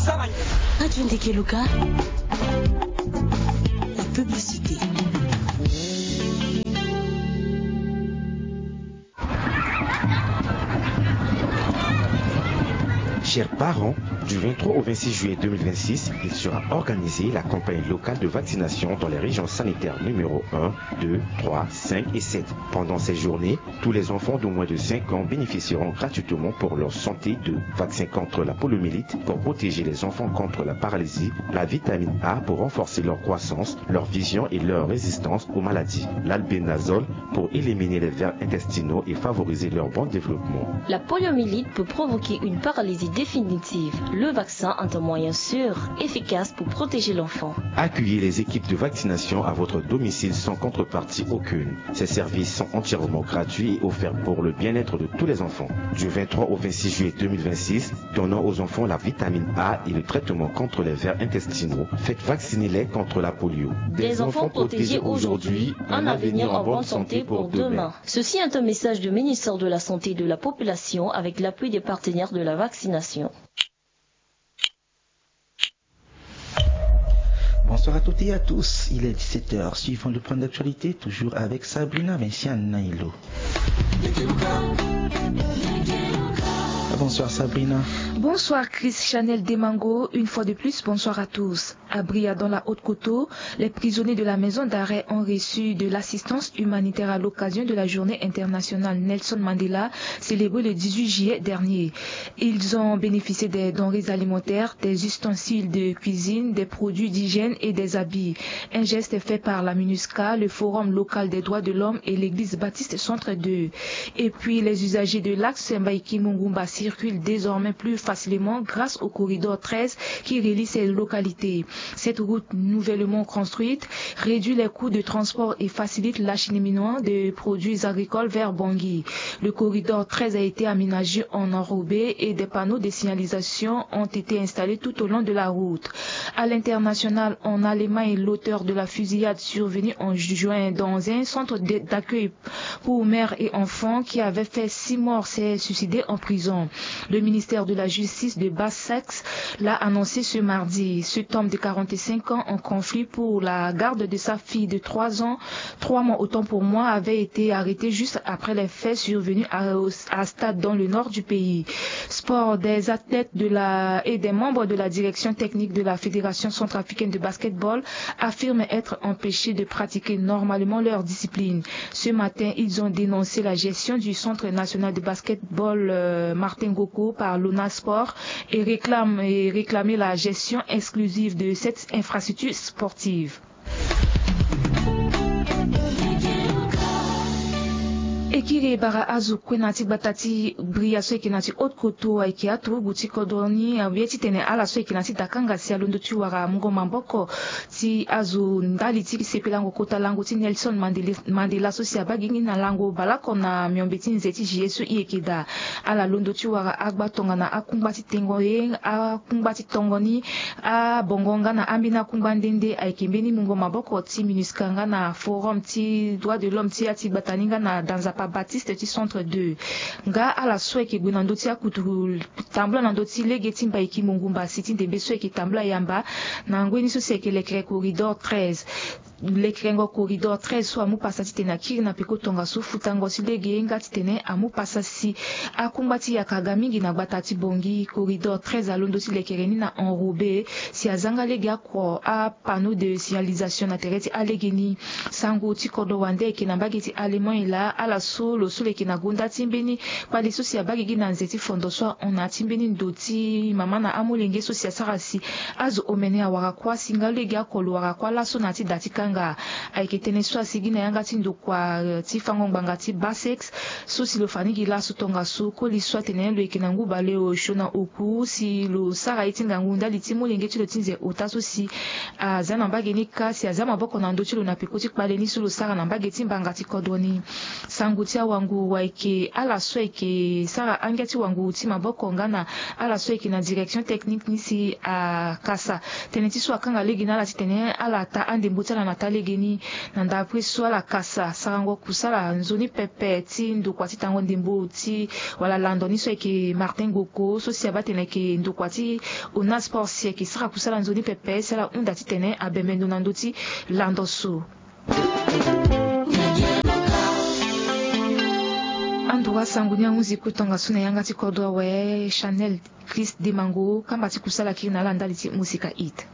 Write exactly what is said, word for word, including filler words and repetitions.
Radio Ndeke Luka, la publicité. Chers parents, du vingt-trois au vingt-six juillet deux mille vingt-six, il sera organisé la campagne locale de vaccination dans les régions sanitaires numéro un, deux, trois, cinq et sept. Pendant ces journées, tous les enfants de moins de cinq ans bénéficieront gratuitement pour leur santé de vaccins contre la poliomyélite pour protéger les enfants contre la paralysie, la vitamine A pour renforcer leur croissance, leur vision et leur résistance aux maladies, l'albénazole pour éliminer les vers intestinaux et favoriser leur bon développement. La poliomyélite peut provoquer une paralysie définitive. Le vaccin est un moyen sûr, efficace pour protéger l'enfant. Accueillez les équipes de vaccination à votre domicile sans contrepartie aucune. Ces services sont entièrement gratuits et offerts pour le bien-être de tous les enfants. Du vingt-trois au vingt-six juillet deux mille vingt-six, donnons aux enfants la vitamine A et le traitement contre les vers intestinaux. Faites vacciner-les contre la polio. Des enfants protégés aujourd'hui, un avenir en bonne santé pour demain. Ceci est un message du ministère de la Santé et de la Population avec l'appui des partenaires de la vaccination. Bonsoir à toutes et à tous. Il est dix-sept heures. Suivons le point d'actualité, toujours avec Sabrina Vinciane Nailo. Bonsoir Sabrina. Bonsoir Chris Chanel Demango. Une fois de plus, bonsoir à tous. À Bria, dans la Haute-Koto, les prisonniers de la maison d'arrêt ont reçu de l'assistance humanitaire à l'occasion de la journée internationale Nelson Mandela, célébrée le dix-huit juillet dernier. Ils ont bénéficié des denrées alimentaires, des ustensiles de cuisine, des produits d'hygiène et des habits. Un geste fait par la MINUSCA, le Forum local des droits de l'homme et l'église baptiste Centre deux. Et puis, les usagers de l'axe Mbaïki-Mungumba circulent désormais plus facilement grâce au corridor treize qui relie ces localités. Cette route nouvellement construite réduit les coûts de transport et facilite l'acheminement de produits agricoles vers Bangui. Le corridor treize a été aménagé en enrobé et des panneaux de signalisation ont été installés tout au long de la route. À l'international, en Allemagne, l'auteur de la fusillade survenue en juin dans un centre de- d'accueil pour mères et enfants qui avait fait six morts s'est suicidé en prison. Le ministère de la Justice de Basse-Saxe l'a annoncé ce mardi. Cet homme de quarante-cinq ans en conflit pour la garde de sa fille de trois ans, trois mois autant pour moi, avait été arrêté juste après les faits survenus à, à Stade dans le nord du pays. Sport, des athlètes de la, et des membres de la direction technique de la Fédération centrafricaine de basketball affirment être empêchés de pratiquer normalement leur discipline. Ce matin, ils ont dénoncé la gestion du Centre national de basketball, euh, Martin Goko par l'ONA Sport et réclament, et réclamer la gestion exclusive de cette infrastructure sportive. E kiri e bara azo kue na ya ti gbata ti Bria so ayeke na ya ti Haute-Koto, ayeke aturugu ti kodro ni, awe titene ala so ayeke na ya ti dakanga si alondo ti wara mungo maboko ti azo ndali ti sepelango kota lango ti Nelson Mandela, Mandela so si abaa gi ni na lango baleoko na miombe ti nze ti juillet so e yeke daa. Ala londo ti wara agba tongana akungba ti tengo ye, akungba ti tongo ni, abongo nga na ambeni akungba nde nde ayeke mbeni mungo maboko ti MINUSCA nga na Forum ti droit de l'homme ti ya ti gbata ni nga na da nzapa Baptiste ti Centre deux. Nga ala so ayeke gue na ndö ti akutu tambula na ndö ti lege ti Mbaïki-Mungumba si ti ndembe so ayeke tambula yamba na ngoi ni so si ayeke lekere corridor treize. Lekerengo corridor treize so amu pasa titene akiri na peko tongaso futango ti lege nga titene amu pasa si akungba ti yaka aga mingi na gbata ti Bangui. Corridor treize alondo ti lekere ni na enrobé si azanga lege ako apanneau de signalisation na tere ti alege ni. Sango ti kodro wande ayeke na mbage ti Allemagne laa, ala so lo so lo yeke na gonda ti mbeni kpale so si abaa gigi na nze ti fondo so ahon na ya ti mbeni ndo ti mama na amolenge so si asara si azo omene awara kuâ si nga lege oko lo wara kuâ laso na ya ti da ti kanga. Ayeke tënë so asigi na yanga ti ndokua, eh, ti fango ngbanga ti Basse-Saxe so si lo fa ni gi laso tongaso koli so atene lo yeke na ngu baleosio na oku si lo sara ye ti ngangu ndali ti molenge ti lo ti nze ota so si aza na mbage ni kâ si aza maboko na ndö ti lo na peko ti kpale ni so lo sara na mbage ti mbanga ti kodro ni. Sango ti awanguru ayeke ala so ayeke sara angia ti wanguru ti maboko nga na ala so ayeke na direction technique ni si akasa tënë ti so akanga lege na ala titene ala ta andembo ti ala na ota legeni. Na ndapre so ala kasa sarango kusala nzoni pepe ti ndokua ti tango ndembo ti wala lando ni so ayeke Martin Goko so si abaa tene ayeke ndokua ti Ona Sport si ayeke sara kusala nzoni pepe si ala hunda titene abembe ndo na ndö ti lando so. Andura sango ni ahunzi ku tongaso na yanga ti kodro awe Chanel Chris Demango kamba ti kusala kiri na ala ndali ti musika hit.